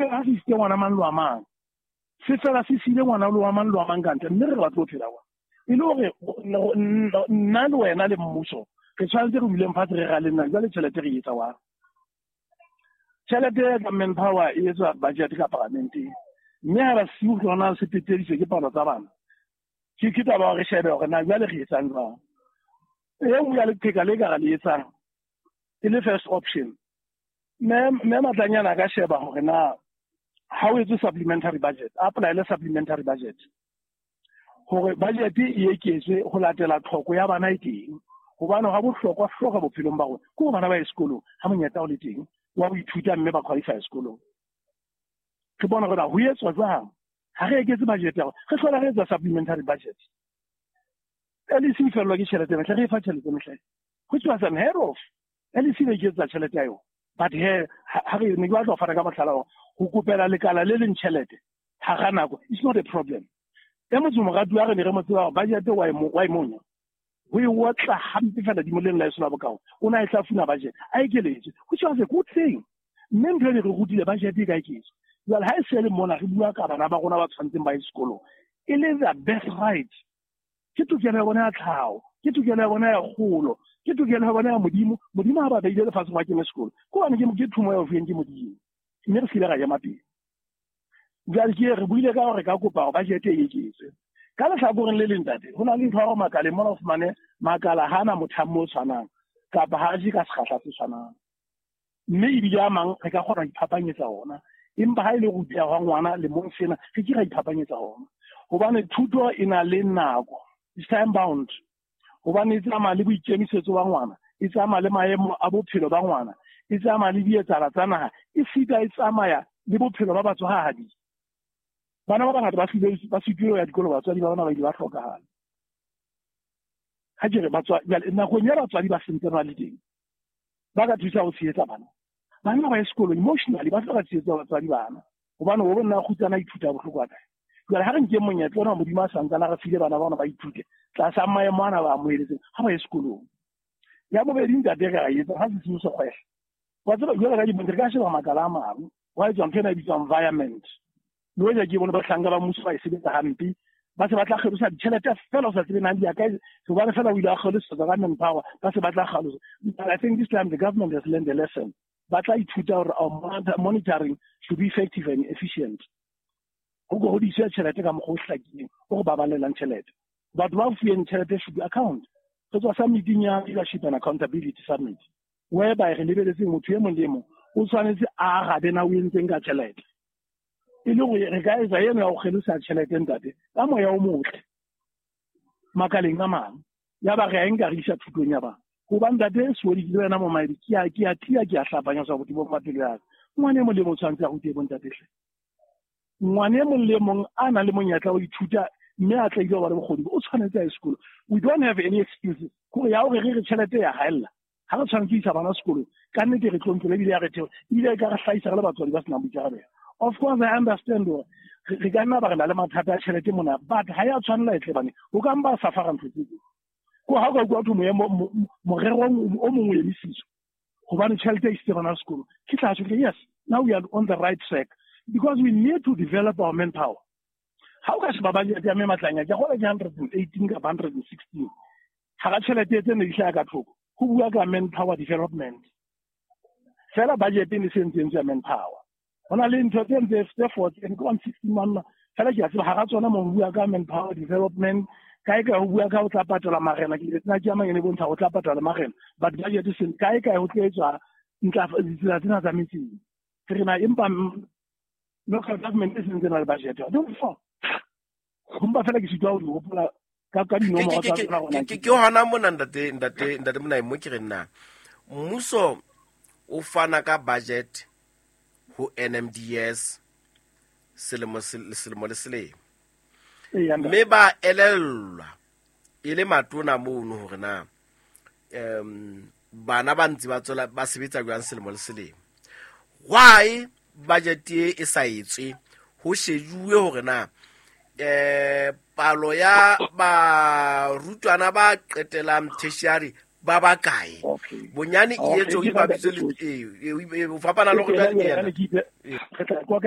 fela ha se isitse ngwana mang le wa mang, se fela se siile ngwana le wa mang le wa mang ka ntle, mme re batlo ho phela wa. E le hore nna le wena le mmuso re tshwanetse re duleng fatshe re raleng na jwale tjhelete re etsa wa. Tjhelete ya ka manpower e etswa budget ka parlamenteng, mme ha ba siu ke hona se peteditswe ke palo tsa bana. Ke taba re shebe hore na jwale re etsang jwang. E nngwe ya leqheka le ka re le etsang e le first option, mme Matlanyana a ka sheba hore na ha o etse supplementary budget, a apply-ele supplementary budget hore budget e eketswe ho latela tlhoko ya bana e teng. Hobane ha bohlokwa hloka bophelong ba rona ke hore bana ba ye sekolong ha monyetla o le teng wa ho ithuta mme ba qualify sekolong. Re bona hore ho etswa jwang ha re eketse budget ya rona, re hlola re etsa supplementary budget. LEC e fellwa ke tjhelete mehle, re e fa tjhelete mehle, which was unheard of. LEC ne iketsetsa tjhelete ya yona, but he ha re ne ke batla ho fana ka mohlala hore ho kopela lekala le leng tjhelete hara nako it's not a problem. E motse moratuwa re ne re mo tseba hore budget wa e monya, ho e otla hampe fela dimoleng la eso la bokao, o na e hlafuna budget a ekeletswe, which was a good thing. Mme ntho e ne re rutile budget e ka eketswa. Jwale ha e se le mona re bua ka bana ba rona ba tshwanetseng ba ye sekolong, e le the best right. Ke tokelo ya bona ya tlhaho, ke tokelo ya bona ya kgolo, ke tokelo ya bona ya Modimo. Modimo ha ba beile lefatsheng wa kene sekolo, ke hobane ke thumo ya ho fuweng ke Modimo, mme re se ile ra ema pele. Jwale ke re buile ka hore ka kopa hore budget e eketswe. Ka lehlakoreng le leng ntate, ho na le ntho ya hore makaleng mona o fumane makala ha ana mothamo o tshwanang kapa ha a je ka sekgahla se tshwanang, mme ebile a mang re ka kgona ho iphapanyetsa ona. Empa ha e le ruteha hwa ngwana lemong sena, re ke ra iphapanyetsa ona, hobane thuto e na le nako, it's time bound. Hobane e tsamaya le boikemisetso ba ngwana, e tsamaya le maemo a bophelo ba ngwana, e tsamaya le dietsala tsa naha, e sita e tsamaya le bophelo ba batswadi. Bana ba bangata ba sitile ho ya dikolo, batswadi ba bona ba ile ba hlokahala. Ha ke re batswadi, nakong ya batswadi ba sentse ba le teng, ba ka thusa ho tshehetsa bana. Bana ba ye sekolo emotionally, ba hloka tshehetso ya batswadi bana, hobane o bona kgutsana ithuta bohloko wa kae. Jwale ha re nke monyetla ona Modimo a santsana re file bana ba bona ba ithute tlasa maemo ana ba amoheletseng, ha ba ye sekolong. Ya bobedi ntate re a etsa ha se seo se kgwehla. Wa tseba jwale ka dibontshe re ka sheba makala a mang, wa etswa ntho ena e bitswang environment. Le hoja ke bone bahlanka ba mmuso ba e sebetsa hampe, ba se ba tla kgelosa ditjhelete fela o sa tsebe na di ya kae, hobane fela o ile a kgelosa ka manpower, ba se ba tla kgelosa. But I think this time the government has learned a lesson. Ba tla ithuta hore our monitoring should be effective and efficient. Ho go hodiswe tjhelete ka mokgwa o hlakileng, o re baballelang tjhelete. Batho ba fuweng tjhelete should be account. Re tswa summiting ya leadership and accountability summit, whereby re lebeletse motho e mong le e mong o tshwanetse a arabe na o entseng ka tjhelete. E le hore re ka etsa eno ya ho kgelosa tjhelete ntate ka moya o motle makaleng a mang, ya ba re a nka re isa thutong ya bana. Hobane ntate Sewedi ke le wena Momaedi, ke a tia, ke a hlapanya sa botebong ba pelo ya ka. Ngwana e mong le mong o tshwanetse a rute bontate hle. Ngwana e mong le mong a nang le monyetla wa ho ithuta mme a tla ile ho ba le bokgoni, o tshwanetse a ye sekolo. We don't have any excuses. Hore ya hore re re tjhelete ya haella, ha re tshwanetse ho isa bana sekolong, ka nnete re tlontlola ebile ya re theola, ebile e ka re hlahisa re le batswadi ba senang boikarabelo. Of course I understand hore re ka nna ba re na le mathata a tjhelete mona, but ha ya tshwanela e tle bane, o ka mpa safara ntho tse ding. Ko ha o ka utlwa ho thwe morero o mong o emisitswe hobane tjhelete e isitse bana sekolo, ke tla tjho ke yes, now we are on the right track, because we need to develop our manpower. Ha o ka sheba budget ya mme Matlanya, ke kgolwa ke 118 kapa 116, hara tjhelete tse ne di hlaha ka thoko, ho bua ka manpower development. Fela budget e ne se ntse ya manpower. Ho na le ntho tse ntse tse four, tse ke 116 monna, fela ke a tseba hara tsona mo ho bua ka manpower development, kae kae ho bua ka ho tla patala marena, ke tsena ke a mang e ne bontsha ho tla patala marena, but budget e seng kae kae ho tla etswa ditsela tsena tsa metseng. Re na empa local government e sentse na le budget. Don't fall. Empa fela ke sitwa ho di hopola ka dinomoro tsa tsona hona Ke hona mona ntate Monai, mo ke reng na mmuso o fana ka budget ho NMDS selemo le selemo. Mme ba elellwa e le matona mono hore na bana ba ntse ba tswela ba sebetsa jwang selemo le selemo. Why budget e sa etswe ho shejuwe hore na palo ya barutwana ba qetelang tertiary ba bakae? Bonyane e etswe e bapiswe le ho fapana le hore jwale ke yena. Re tla kwa kae?